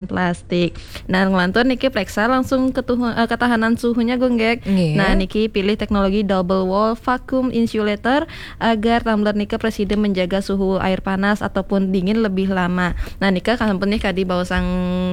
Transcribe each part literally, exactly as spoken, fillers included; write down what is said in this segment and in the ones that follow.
plastik. Nah, nglantur niki preksa langsung ketuhu-, eh, ketahanan suhunya, Gung Gek. Nggih. Nah, niki pilih teknologi double wall vacuum insulator agar tumbler nika presida menjaga suhu air panas ataupun dingin lebih lama. Nah, nika kan sampun nih kadi bawa sang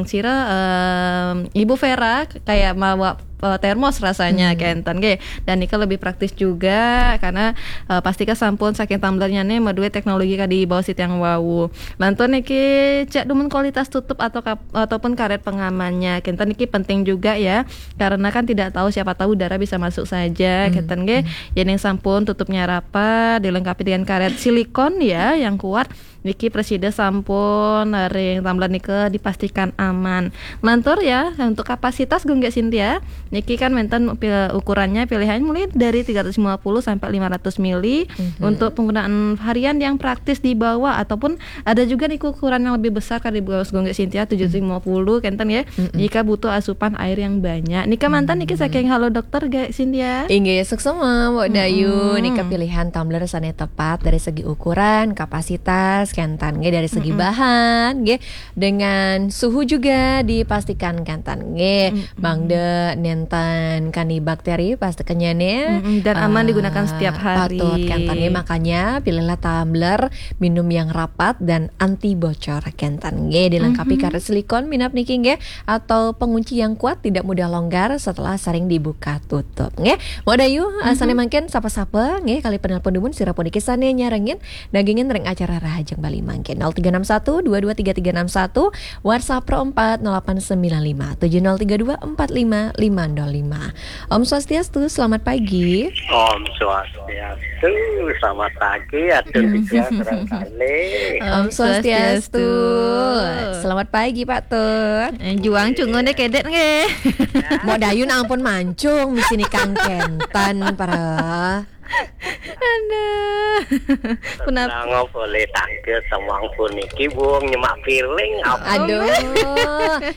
sira, em, Ibu Vera kayak mawa, eh, termos rasanya, hmm, kenten nggih. Dan nika lebih praktis juga karena, eh, pastika sampun saking tumblernya nih madue teknologi kadi bawa sitiang wau. Lantur niki cek dumun kualitas tutup atau kap-, ataupun karet pengamannya. Kenten niki penting juga ya, karena kan tidak tahu, siapa tahu udara bisa masuk saja, hmm, kenten nggih. Hmm. Yen yang sampun tutupnya rapat, dilengkapi dengan karet silikon ya yang kuat. Niki presida sampun ring tumbler nika dipastikan aman. Lantur ya, untuk kapasitas Gung Gek Sintia, niki kan wenten pil-, ukurannya pilihan mulai dari tiga ratus lima puluh sampai lima ratus mili. Mhm. Untuk penggunaan harian yang praktis di bawah ataupun ada juga nih ukuran yang lebih besar kali di bawah Gung Gek Sintia, tujuh ratus lima puluh kenten ya. Mm-mm. Jika butuh asupan air yang banyak. Nika mantan niki, hmm, saking Halo Dokter Gek Sintia. Inggih, suksema, Mbok Dayu. Mm-mm. Nika pilihan tumbler sane tepat dari segi ukuran, kapasitas, kenten nggih, dari segi, mm-mm, bahan nggih, dengan suhu juga dipastikan kenten nggih. Mm-mm. Mangda nenten kani bakteri pas kenyane. Mm-mm, dan aman, eh, digunakan setiap hari. Patut kenten nggih, makanya pilihlah tumbler minum yang rapat dan anti bocor kenten nggih, dilengkapi, mhm, karet silikon minap niki nggih, atau pengunci yang kuat tidak mudah longgar setelah sering dibuka tutup nggih. Mbok Dayu, eh, mhm, sane mangkin sapa-sapa nggih, kali penelpon dumun sira puniki sane nyarengin dagingin ring acara Rahajeng Bali mangkin. Nol tiga enam satu dua dua tiga tiga enam satu, WhatsApp pro empat nol delapan sembilan lima tujuh nol tiga dua empat lima lima nol lima. Om Swastiastu, selamat pagi. Om Swastiastu, selamat pagi, atur tiga barangkali. Om Swastiastu. Selamat pagi, Pak Tut. Eh, juang cungun deh kedet nggih. Mbok Dayu nak ampun mancung, misi nikang kenten, para. Aduh. Punapa? Nang boleh tangkil semua puniki, Bung, nyemak piring, apa? Aduh,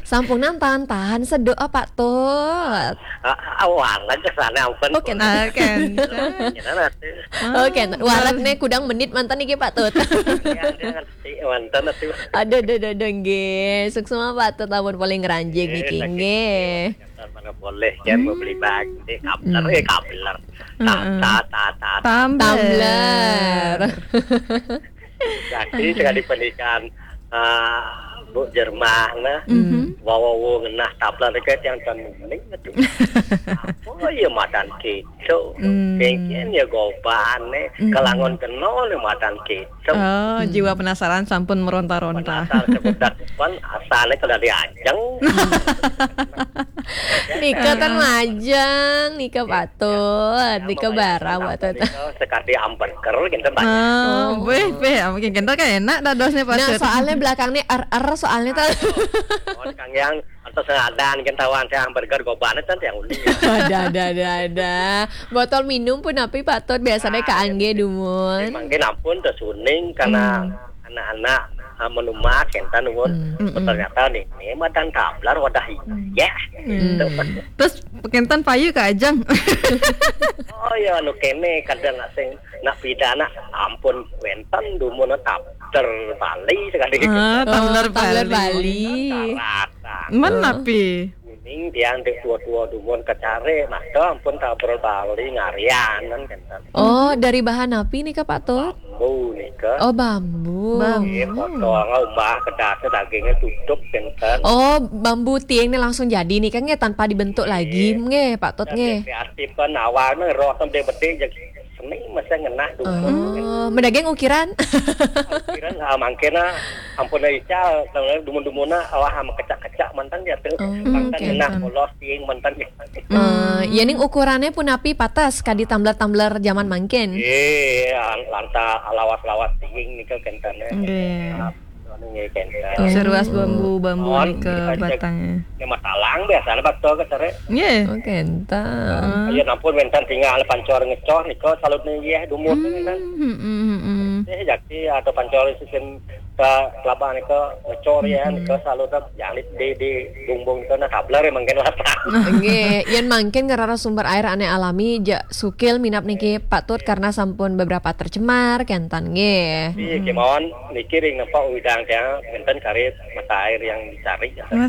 sampunan tahan-tahan seduk, Pak Tut. Ah, ah, warna ke sana, ampun. Oke, boleh. Nah, kan. Jangan nanti. Oh, oke, warna nih kudang menit mantan niki, Pak Tut. Ya, dia ngerti, mantan nanti. Aduh, aduh, aduh, aduh, nggih. Suksema, Pak Tut, ampun paling ngranjing niki, nggih. Mana boleh, kan, hmm, mau beli baju, eh, kabler, hmm, eh, kabler. Ta-, heeh, ta-, ta-, ta-, tumbler. Tumbler. Jadi, sekali pernikahan, eh, Bu Jerman, nah, mhm, wawa ngenah tumbler dekat yang ten mending itu. Apa ya madan gitu? Hmm. Pengen ya gobane, hmm, kelangon kena le madan gitu. Oh, hmm, jiwa penasaran sampun meronta-ronta. Penasaran sebentar depan, asale kada diajeng. Nika tan majeng, nika patut, nika bara patut. Nika sekali hamburger, gitu, banyak. Oh, beh, beh, mungkin kita kan enak dadosnya patut. Nah, soalnya belakangnya er-er, soalnya tuh. Oh, Kang Yang, atau sengadan, kan tawan saya hamburger, gobane, kan yang unik. Ada, ada, ada, ada. Botol minum pun api patut, biasanya kaangge dumun. Mungkin ampun, tersuning, karena, hmm, anak-anak, ah, menumat, kenten, nuwun. Hmm. Ternyata nih, ini madan tumbler wadah iya. Hmm. Gitu. Terus kenten payu ka ajeng. Oh ya, anu kene, kadang nak sing, nak pidana, ampun, wenten dumun tumbler Bali sekali. Ah, tumbler Bali. Oh, tumbler Bali. Rata-rata. Mana pi? Kuning tiang dek tua-tua dumun kecare, nah, itu ampun tumbler Bali ngarian, kan, kenten. Oh, dari bahan api nih, Kak, Pak Tut? Bambu nika. Oh, bambu. Bambu. Nggih, potong, umbah, kedasnya, dagingnya tutup, kenten. Oh, bambu tiang ini langsung jadi nih, kan, nggih, tanpa dibentuk lagi, nggih, Pak Tut, nggih. Dan kreatif kan, awalnya roh sampai betik, jadi seni, masa ngenah dulu. Oh, medaging ukiran? Ukiran, ah, mangkena, ampun ical, dumun-dumunna, awah, sama kecak-kecak, mantan ya, tuh. Oh, mantan ngenah, kenten. Polos, tiang, mantan ya. Eh, ya, ning ukurannya pun api patas kadi tumbler-tumbler zaman mangkin. Iya, lanta lawas-lawas tiing nika kentene. Nggih. Anu nggih kenten. Oh. Seruas bambu-bambu nika batangnya. Ini masalah biasanya bakto ke sore. Nggih. Oh, kenten. Ayo nampun wenten tinggal pancor ngecor nika salut nih ya dumun kan. Hmm, hmm, hmm, hmm. Eh, jaki atau pancor sisin Ka kelabang nika ngecor ya, nika selalu tak yang di di, di bumbung nika nak kablar ya mangkin latak. Nggih, yen mangkin ngerara sumber air ane alami, ja sukil minab niki patut karena sampun beberapa tercemar kenten nggih. Iya, kemauan niki ring nempa uidang tiang enten kari mata air yang dicari. Ya.